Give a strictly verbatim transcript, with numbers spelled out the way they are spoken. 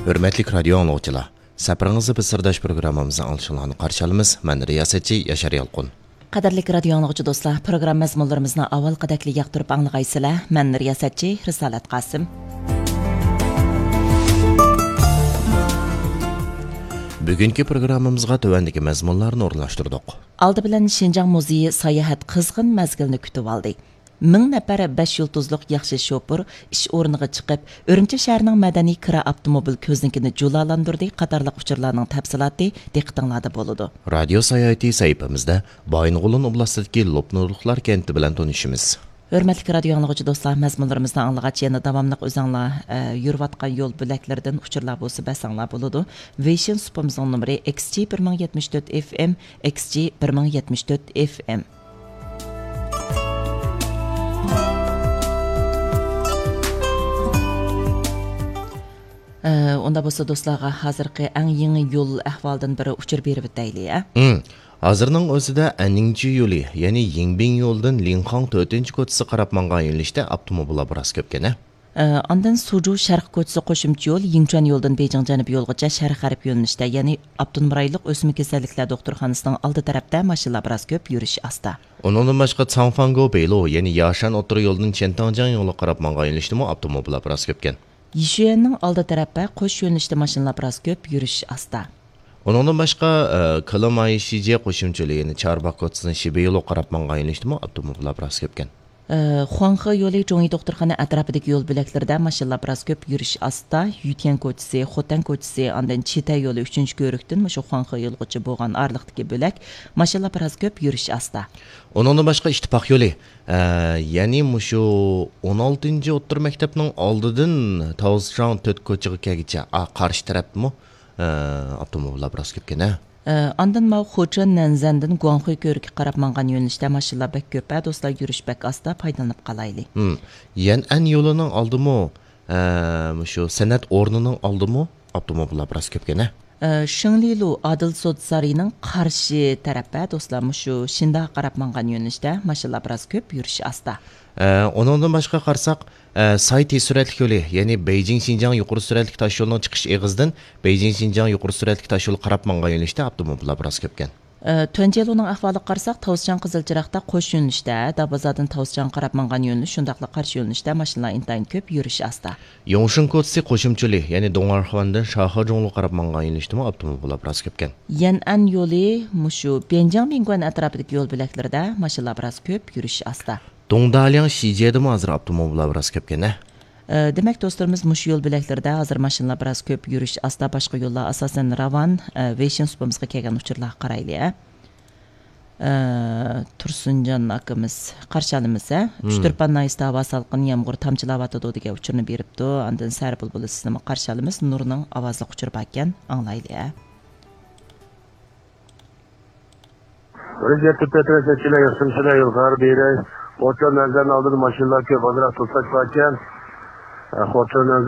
ھۆرمەتلىك رادىيو ئاڭلىغۇچىلار، سەپىرىڭىزدە بىز سىرداش پروگراممىمىزنىڭ ئاڭلىشىڭلارنى قارشى ئالىمىز. مەن رىياسەتچى ياشار يالقۇن. قەدىرلىك رادىيو ئاڭلىغۇچى دوستلار، پروگرامما مەزمۇنلىرىمىزنى ئاۋۋالقىدەكلا ياقتۇرۇپ ئاڭلىغايسىلەر. مەن رىياسەتچى رىسالەت قاسىم. بۈگۈنكى پروگراممىمىزغا تۆۋەندىكى مەزمۇنلارنى ئورۇنلاشتۇردۇق. ئالدى بىلەن شىنجاڭ مۇزېيى ساياھەت قىزغىن مەزگىلنى كۈتۈۋالدى. مىڭ نەپەر بەش يۇلتۇزلۇق ياخشى شوپۇر ئىش ئورنىغا چىقىپ، ئۈرۈمچى شەھىرىنىڭ مەدەنىي كىرا ئاپتوموبىل كۆزنىكىنى جۇلالاندۇردى قاتارلىق ئۇچۇرلارنىڭ تەپسىلاتى دىققىتىڭلاردا بولىدۇ. رادىيو ساياھىتى سەھىپىمىزدە بايىنغولىن ئوبلاستىدىكى لوپنۇرلۇقلار كەنتى بىلەن تونۇشىمىز. ھۆرمەتلىك رادىيو ئاڭلىغۇچى دوستلار، مەزمۇنلىرىمىزنى ئاڭلىغاچ يەنە داۋاملىق ئۆزەڭلار، ئە، يۈرۈۋاتقان يول بۆلەكلىرىدىن ئۇچۇرلار بولسا بەرسەڭلار بولىدۇ. ۋېيشىن سۇپىمىزنىڭ نومۇرى ئېكس جى بىر مىڭ يەتمىش تۆت ئېف ئېم، ئېكس جى بىر مىڭ يەتمىش تۆت ئېف ئېم. ئە، ئۇندا بولسا دوستلارغا ھازىرقى ئەڭ يېڭى يول ئەھۋالىدىن بىر ئۇچۇر بېرىۋېتەيلى، ئە؟ ھازىرنىڭ ئۆزىدە ئەننىڭجى يولى، يەنى يىڭبىڭ يولىدىن لىڭخاڭ تۆتىنچى كوچىسى قاراپ ماڭغان يۆنىلىشتە ئاپتوموبىللار بىراز كۆپكەن، ھە؟ ئە، ئاندىن سۇجۇ شەرق كوچىسى قوشۇمچە يول يىڭچۈەن يولىدىن بېيجىڭ جەنۇب يولىغىچە شەرق غەرب يۆنىلىشتە، يەنى ئاپتونوم رايونلۇق ئۆسمە كېسەللىكلەر دوختۇرخانىسىنىڭ ئالدى تەرەپتە ماشىنىلار بىراز كۆپ، يۈرۈش ئاستا. ئۇنىڭدىن باشقا، چاڭفاڭگو بېيلۇ، يەنى ياشان ئوتتۇرا يولىدىن چيەنتاڭجياڭ يولىغا قاراپ ماڭغان يۆنىلىشتىمۇ ئاپتوموبىللار بىراز كۆپكەن. يىشۈەننىڭ ئالدى تەرەپتە قوش يۆنىلىشتە ماشىنىلار بىراز كۆپ، يۈرۈش ئاستا. ئۇنىڭدىن باشقا، ئە، كىلىمايشىجيې قوشۇمچە يولى، يەنى چارباغ كوچىسىدىن شىبە يولىغا قاراپ ماڭغان يۆنىلىشتىمۇ ئاپتوموبىللار بىراز كۆپكەن. ئە، خۇاڭخې يولى جۇڭيى دوختۇرخانا ئەتراپىدىكى يول بۆلەكلىرىدە ماشىنىلار بىراز كۆپ، يۈرۈش ئاستا. يۈتيەن كوچىسى، خوتەن كوچىسى، ئاندىن چىتەي يولى ئۈچىنچى كۆۋرۈكتىن مۇشۇ خۇاڭخې يولىغىچە بولغان ئارىلىقتىكى بۆلەك ماشىنىلار بىراز كۆپ، يۈرۈش ئاستا. ئۇنىڭدىن باشقا ئىتتىپاق يولى، ئە، يەنى مۇشۇ ئون ئالتىنچى ئوتتۇرا مەكتەپنىڭ ئالدىدىن تاۋزچاڭ تۆت كوچىغا كەلگۈچە، ئا، قارشى تەرەپتىمۇ، ئە، ئاپتوموبىللار بىراز كۆپكەن، ھە؟ ئە، ئاندىن ماۋۇ خۇچېن نەنزەندىن گۇاڭخۇي كۆۋرۈكىگە قاراپ ماڭغان يۆنىلىشتە ماشىنىلار بەك كۆپ، ھە، دوستلار، يۈرۈش بەك ئاستا، پايدىلىنىپ قالايلى. ھىم. يەنئەن يولىنىڭ ئالدىمۇ، ئە، مۇشۇ سەنئەت ئورنىنىڭ ئالدىمۇ ئاپتوموبىللار بىراز كۆپكەن، ھە؟ ئە، شېڭلىلۇ ئادىل سودا سارىيىنىڭ قارشى تەرەپ، ھە، دوستلار، مۇشۇ شىندا قاراپ ماڭغان يۆنىلىشتە ماشىنىلار بىراز كۆپ، يۈرۈش ئاستا. ئە، ئۇنىڭدىن باشقا قارىساق، ئە، ساي تېز سۈرئەتلىك يولى، يەنى بېيجىڭ شىنجاڭ يۇقىرى سۈرئەتلىك تاشيولىنىڭ چىقىش ئېغىزىدىن بېيجىڭ شىنجاڭ يۇقىرى سۈرئەتلىك تاشيولى قاراپ ماڭغان يۆنىلىشتە ئاپتوموبىللار بىراز كۆپكەن. ئە، تۈەنجيېلۇنىڭ ئەھۋالىغا قارىساق، تاۋزچاڭ قىزىل چىراغدا قوش يۆنىلىشتە، دابازادىن تاۋزچاڭ قاراپ ماڭغان يۆنىلىش، شۇنداقلا قارشى يۆنىلىشتە ماشىنىلار ئىنتايىن كۆپ، يۈرۈش ئاستا. يوڭشېن كوچىسى قوشۇمچە يولى، يەنى دۇڭئەرخۇەندىن شاخېجۇڭلۇغا قاراپ ماڭغان يۆنىلىشتىمۇ ئاپتوموبىللار بىراز كۆپكەن. يەنئەن يولى مۇشۇ بيەنجياڭ مىڭگۇەن ئەتراپىدىكى يول بۆلەكلىرىدە ماشىنىلار بىراز كۆپ، يۈرۈش ئاستا. دۇڭدالياڭ شىجيەدىمۇ ھازىر ئاپتوموبىللار بىراز كۆپكەن، ھە؟ ئە، دېمەك، دوستلىرىمىز، مۇشۇ يول بۆلەكلىرىدە ھازىر ماشىنىلار بىراز كۆپ، يۈرۈش ئاستا، باشقا يوللار ئاساسەن راۋان. ئە، ۋېيشىن سۇپىمىزغا كەلگەن ئۇچۇرلارغا قارايلى، ھە. ئە، تۇرسۇنجان ئاكىمىز، قارشى ئالىمىز، ھە. مم. ئۇچتۇرپان ناھىيەسىدە ھاۋا سالقىن، يامغۇر تامچىلاۋاتىدۇ دېگەن ئۇچۇرنى بېرىپتۇ. ئاندىن سەھەر بۇلبۇلى سىزنىمۇ قارشى ئالىمىز. نۇرنىڭ ئاۋازلىق ئۇچۇرى باركەن، ئاڭلايلى، ھە. بىرىنچى يەتتە تۆت رەسەتچىلەر ياخشىمۇسىلەر يولغا بېرەي. خوتۇن نەزەرنىڭ ئالدىدا ماشىنىلار كۆپ، ئازراق توساش باركەن. خوتۇن